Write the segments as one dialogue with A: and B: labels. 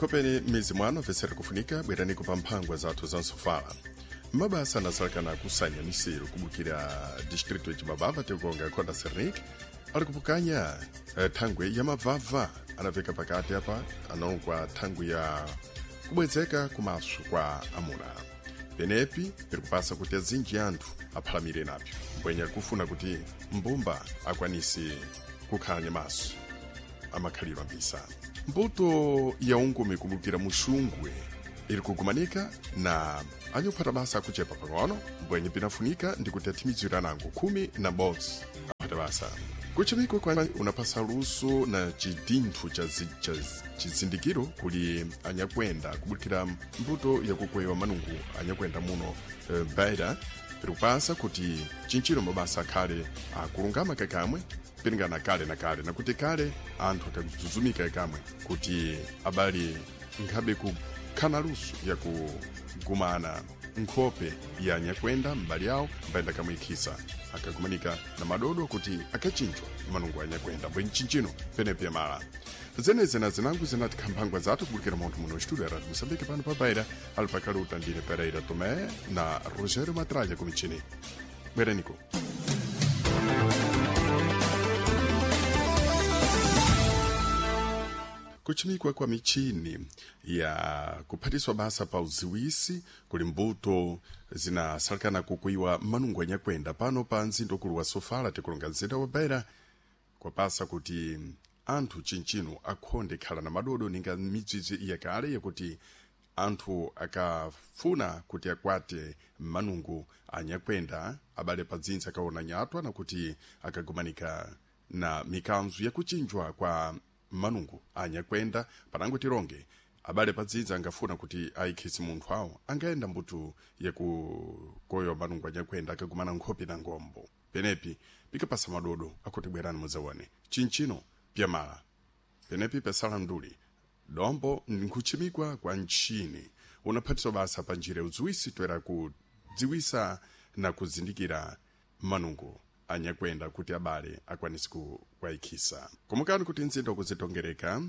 A: Kopeni mizi mwano vesera kufunika bweraniko pa mphangwa zathu za nsofala. Mabasa anasalekana kusanya miseru kubukira distrito ya Chimabava tikukonga Konda Sernik ali kupukanya thangwe ya mabvabva anaveka pakati apa analongwa thangwe ya kubwezeka kumaso kwa amuna. Penepi piri kupasa kuti azinji anthu aphalamire napyo mbwenya kufuna kuti mbumba akwanise kukhala nyamaso amakhalidwe ambisa. Mbuto ya ungumi kubukira muxungwe iri kugumanika na anyophata basa akuchepa pang'ono mbwenye pinafunika ndi kuti athimizira nango 11 aphata basa. Kuchimikwa kwa unapasa luso na chidinthu cha chizindikiro kuli anyakwenda kubukira mbuto yakukwewa manungu anyakwenda muno Beira piri kupasa kuti chinchiro mabasa akhale akulungama kakamwe piringana kale na kale nakuti kale anthu akazuzumika kamwe kuti abali nkhabe kukhana luso yakugumana nkhope ya nyakwenda mbali yawo mbayenda kamwikhisa akagumanika na madodo kuti akachinjwa manungu a nyakwenda mbwe mchinchino penepi yamala. Zeneze na zinangu zinati khamphangwa zathu kubukira munthu muno studio ya Radio Moçambique pano pa Beira ali pakali utandire Pereira Tomé na Rogério Matralha kumichini. Bweraniko. Kuchimikwa kwa michini ya kuphatiswa basa pa uziwisi kuli mbuto zinasalekana kukuiwa manungu anyakwenda pano pa mzinda ukulu wa Sofala tikulonga mzinda wa Beira kwapasa kuti anthu chinchino akhonde khala na madodo ninga midzidzi yakale yakuti anthu akafuna kuti akwate manungu anyakwenda abale padzinza akaona nyatwa nakuti akagumanika na mikanzu yakuchinjwa kwa manungu anyakwenda panango tironge abale padzinza angafuna kuti ayikhisi munthu awo angayenda mbuto yakukoyowa manungu anyakwenda akagumana nkhope na ngombo penepi pikapasa madodo akuti bwerani mudzaone chinchino pyamala penepi pesala nduli dombo nkuchimikwa kwa ntchini unaphatiswa basa pa njira udziwisi toera kudziwisa na kuzindikira manungu anyakwenda kuti abale akwanise kuwayikhisa. Komukani kuti mzinda wakuzitongereka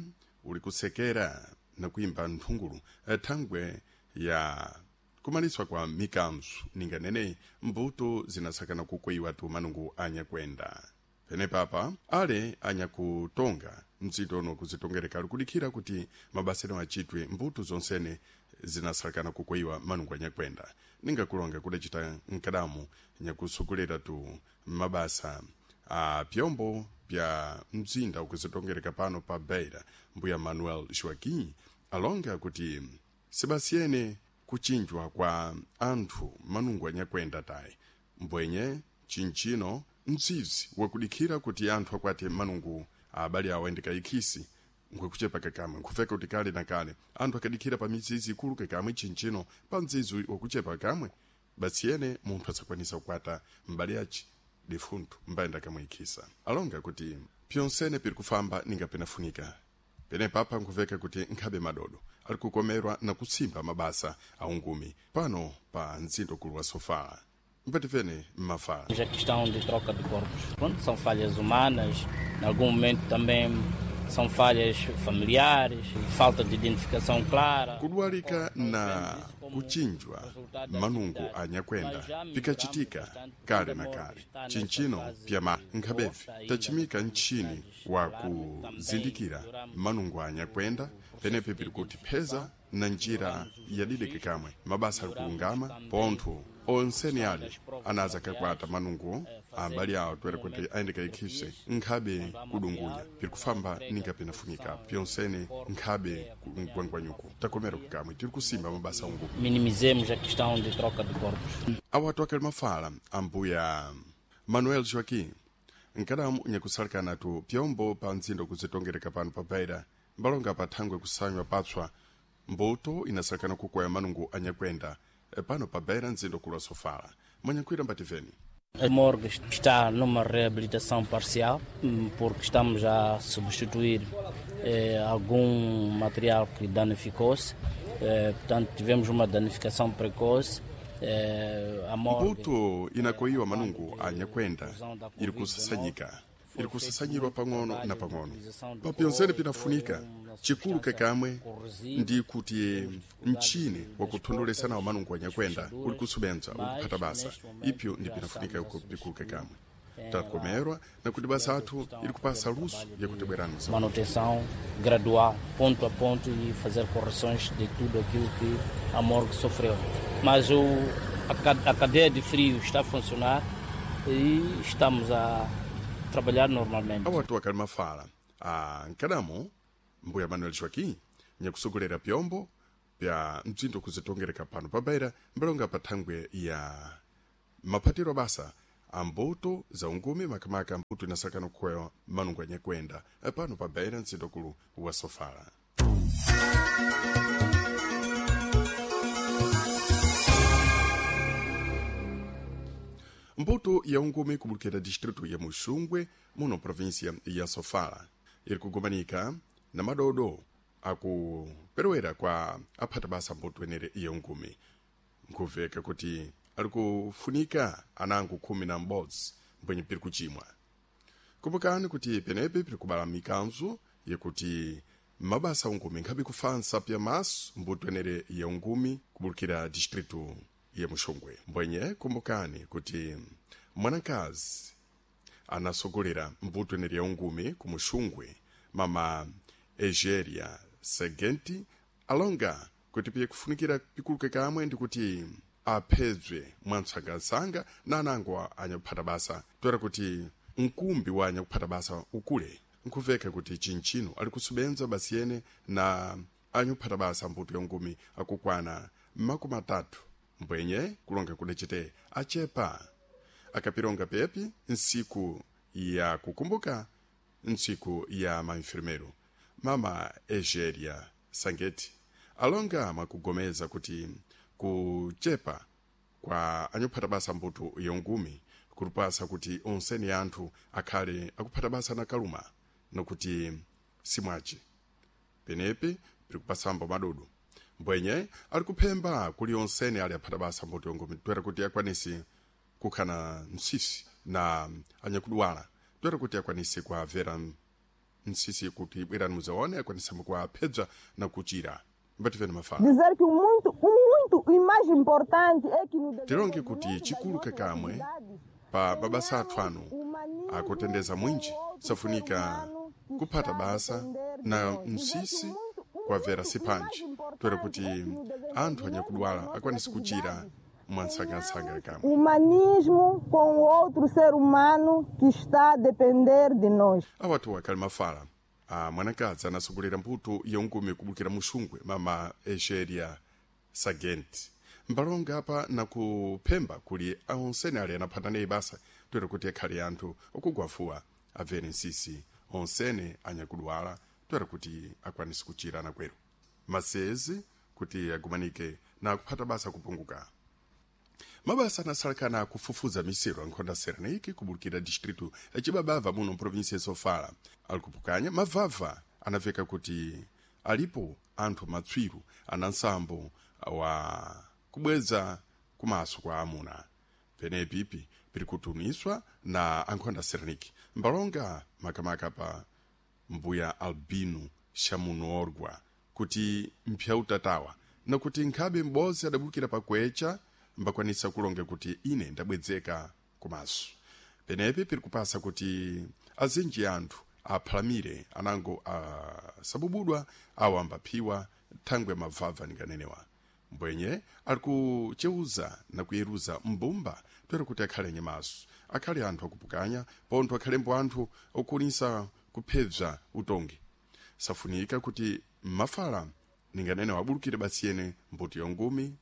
A: uli kusekera na kuimba nthungulu thangwe ya kumaliswa kwa mikanzu ninga neneyi mbuto zinasakana kukweyiwa tu manungu anyakwenda. Penepapa ale anyakutonga mzinda uno kuzitongereka ali kudikhira kuti mabasa achitwe mbuto zonsene zinasalekana kukweyiwa manungu anyakwenda ningakulonga kudacita nkadamu nyakusogolera tu mabasa a pyombo pya mzinda ukuzitongereka pano pa Beira mbuya Manuel Joaquim alonga kuti sibasiyene kuchinjwa kwa anthu manungu anyakwenda tayi mbwenye chinchino mzizi wakudikhira kuti anthu akwate manungu abale awo ayendekayikhisi nkwekuchepa kakamwe nkhufeka kuti kale na kale anthu akadikhira pa mizizi ikulu kakamwe chinchino pa mzizi wakuchepa kamwe batsiyene munthu asakwanisa kukwata mbali yaci difunthu mbayenda kamwikhisa. Alonga kuti pyonsene piri kufamba ninga penafunika penepapa nkhuveka kuti nkhabe madodo ali kukomerwa na kutsimba mabasa aungumi pano pa mzinda ukulu wa Sofala. Mpatifene mmafala.
B: A questão de troca de corpos. Pronto, são falhas humanas, em algum momento também são falhas familiares, falta de identificação clara.
A: Kudwalika na kuchinjwa manungu anyakwenda pikachitika kale na kale chinchino pyama nkhabevi tachimika ntchini wa kuzindikira manungu anyakwenda penepi piri kuti pheza na njira yadideke kamwe mabasa ali kulungama pontho onseni ale anaza kakwata manungu abali awo toera kuti ayendekayikhise nkhabe kudungunya piri kufamba ninga pinafunika pyonsene nkhabe mgwangwanyuko takomera kukamwe tiri kusimba mabasa ungu.
B: Minimizemos a questão de troca de corpos.
A: Awatu akali mafala ambuya Manuel Joaquim nkadamu nyakusalikana tu pyombo pa mzinda kuzitongereka pano pa Beira mbalonga pa thangwe kusanywa patswa mbuto inasalikana kukwaya manungu anyakwenda pano pa Beira mzinda ukulu wa Sofala. Mwanyakwira mbativeni.
B: A morgue está numa reabilitação parcial, porque estamos a substituir algum material que danificou-se. Portanto, tivemos uma danificação precoce. A morgue,
A: mbuto inakoyiwa manungu anyakwenda iri kusasanyika ili kusasanyirwa pang'ono na pang'ono. Papyonzene pinafunika chikulu kekamwe ndi kuti mchini wakuthondolesa nawo manungo anyakwenda uli kusubenza ukuphata basa, ipyo ndi pinafunika pikulu kekamwe. Takomerwa na kuti basa athu ili kupasa luso yakuti bwerani.
B: Manutenção gradual, ponto a ponto, e fazer correções de tudo aquilo que a morgue sofreu. Mas a cadeia de frio está a funcionar e estamos a trabalhar normalmente.
A: Awatu akali mafala a nkadamo mbuya Manuel Joaquim nyakusogolera pyombo pya mdzindo kuzitongereka pano pa Beira mbalonga pa thangwe ya maphatiro basa ambuto za ungumi, makamaka mbuto inasakana kukwewa manungo anyakwenda pano pa Beira, mdzindokulu wa Sofala. Mbuto ya ungumi kubulukira distritu ya Muxungwe muno província ya Sofala iri kugumanika na madodo akuperewera kwa aphata basa mbuto enere ya ungumi. Nkuveka kuti ali kufunika anango 11 mbwenye piri kuchimwa. Kumbukani kuti penepe piri kubala mikanzo yakuti mabasa ungumi nkhabe kufansa pya maso mbuto enere ya ungumi kubulukira distritu ya Muxungwe. Mbwenye kumbukani kuti mwanakazi anasogolera mbuto enere ya ungumi ku Muxungwe, mama Egeria Segenti, alonga kuti piye kufunikira pikuluke kamwe ndi kuti aphedzwe mwamsangamsanga na anango anyakuphata basa toera kuti mkumbi wa anyakuphata basa ukule. Nkuveka kuti chinchino ali kusubenza basi yene na anyakuphata basa mbuto ya ungumi akukwana 30, mbwenye kulonga kudacite achepa. Akapilonga pepi nsiku ya kukumbuka ntsiku ya mainfirmeiro, mama Egeria Sangeti alonga makugomeza kuti kuchepa kwa anyakuphata basa mbuto ya ungumi kulupasa kuti onseni anthu akhale akuphata basa na kaluma nokuti simwace penepe piri kupasambo madodo. Mbwenye ali kuphemba kuli onseni ali aphata basa mbuto ya ungumi toera kuti akwanise kukhana msisi na anyakudwala, toera kuti akwanise kuavera msisi kuti bwerani muzaone akwanise kuaphedza na kuchira. Mbativeni mafala.
C: Dizer que o muito e mais importante é que no
A: Tilonge kuti chikulu kakamwe pa mabasa athu anu akutendeza mwinji safunika kuphata basa na msisi kwavera sipanji toera kuti anthu anyakudwala akwanise kuchira mwansangasanga kamwe.
C: Humanismo com o outro ser humano que está a depender de nós.
A: Awatu akali mafala a mwanakazi anasogolera mbuto ya ungumi kubulukira Muxungwe, mama Egeria Sagenti, mbalonga apa nakuphemba kuli onsene ali anaphata naye basa toera kuti akhale anthu okugwafuwa abvere nsisi onsene anyakudwala toera kuti akwanise kuchira anakwero masezi kuti agumanike na kuphata basa kupunguka. Mabasa anasalakana akufufuza misero ankhonda Serenike kubulukira distritu ya Chibabava muno mprovinsia ya Sofala ali kupukanya mavava anaveka kuti alipo anthu matswiru ana nsambo wa kubweza kumaso kwa amuna. Penepipi piri kutuniswa na ankhonda Serenike mbalonga makamaka pa mbuya Albino Shamunorgwa kuti mpyautatawa nakuti nkhabe m'bodzi adabulukira pakwecha mbakwanisa kulonga kuti ine ndabwedzeka kumaso. Penepe piri kupasa kuti azinji anthu aphalamire anango asabubudwa awo ambaphiwa thangwe mavava ninganenewa. Mbwenye ali kucheuza na kuyeruza mbumba toera kuti akhale nyamaso, akhale anthu akupukanya pontho akhalembo anthu okunisa kuphedza utongi. Safunika kuti mafala ninganene wabulukire basi yene mbuto yongumi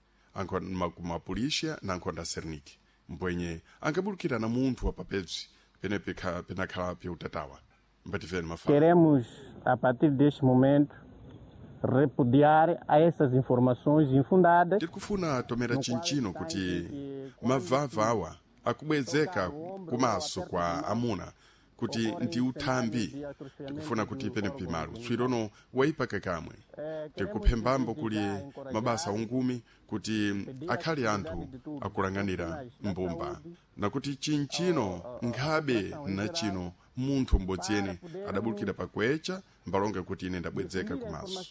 A: mapulisha na nkhonda Serniki, mbwenye angabulukira na munthu wapapedzi penepe penakhala pyeutatawa. Mbativeni mafala.
D: Queremos, a partir deste momento, repudiar a essas informações infundadas.
A: Tiri kufuna tomera chinchino kuti mavava awa akubwezeka kumaso kwa amuna kuti ndi uthambi. Tikufuna kuti penepe malo tswirono waipaka kamwe. Tikuphembambo kuli mabasa ungumi kuti akhale anthu akulanganira mbumba nakuti chinchino nkhabe na chino Munthu m'bodzi yene adabulukira pakwecha mbalonga kuti ine ndabwedzeka kumaso.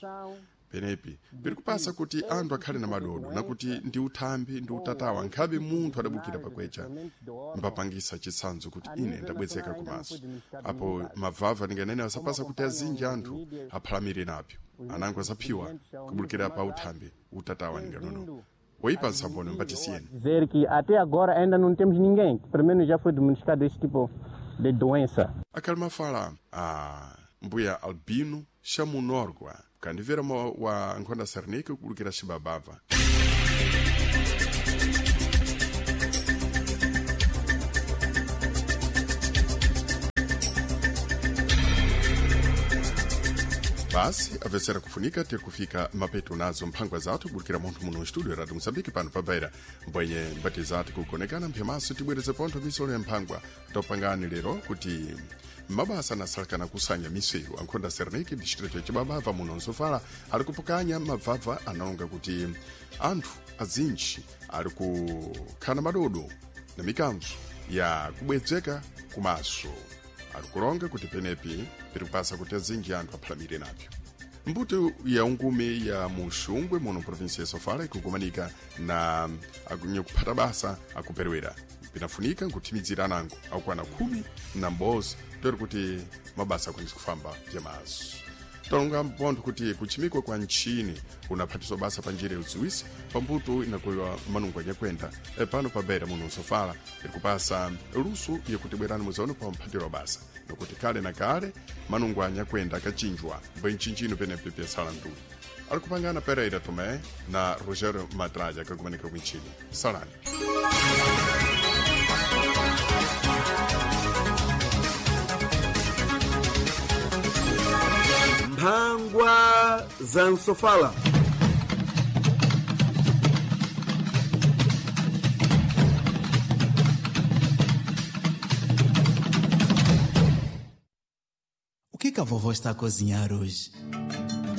A: Penepi piri kupasa kuti anthu akhale na madodo nakuti ndi uthambi ndi utatawa nkhabe munthu adabulukira pakwecha mbapangisa chitsanzo kuti ine ndabwezeka kumaso. Apo mavava ndinganene asapasa kuti azinji anthu aphalamire napyo anango asaphiwa kubulukira pa uthambi utatawa ndinganono woipa nsambono mbatisiyeni.
D: Dizer que até agora ainda não temos ninguém que pelo menos já foi diagnosticado este tipo de doença.
A: Akhali mafala a mbuya Albino Xamunorgwa kandimvera wa nkhonda Sarnike kubulukira Xibabava. Basi avesera kufunika tiri kufika mapeto nazo mphangwa zathu kubulukira munthu muno studio Radio Moçambique pano pabeira mbwenye mbati zathu kukonekana mphemaso tibwereze pontho misolo ya mphangwa topangani lero kuti mabasa anasalakana kusanya misewu ankhonda Sernike distrito ya Chibabava muno Nsofala ali kupukanya mabvabva analonga kuti anthu azinji ali kukhana madodo na mikanzo ya kubwedzeka kumaso ali kulonga kuti penepi piri kupasa kuti azinji anthu aphalamire napyo. Mbuto ya ungume ya muxungwe muno provinsia ya Sofala ikukumanika na akuphata basa akuperewera pinafunika nkuthimidzira anango akukwana 11 tori kuti mabasa akwanise kufamba pyamaso. Talonga mpontho kuti kuchimikwa kwa ntchini unaphatiswa basa pa njira yaudziwisi pambuto inakuyiwa manungo anyakwenda pano pa Beira muno Nsofala iri kupasa luso yakuti bwerani muzaone pa mphatiro wa basa nokuti kale na kale manungo anyakwenda akachinjwa mbwe nchinjino penepe pyasala ndulu ali kupangana Pereira Tomé na Rogério Matraja akakumanika kwintchini. Salani.
E: Mphangwa za Nsofala.
F: O que que a vovó está a cozinhar hoje?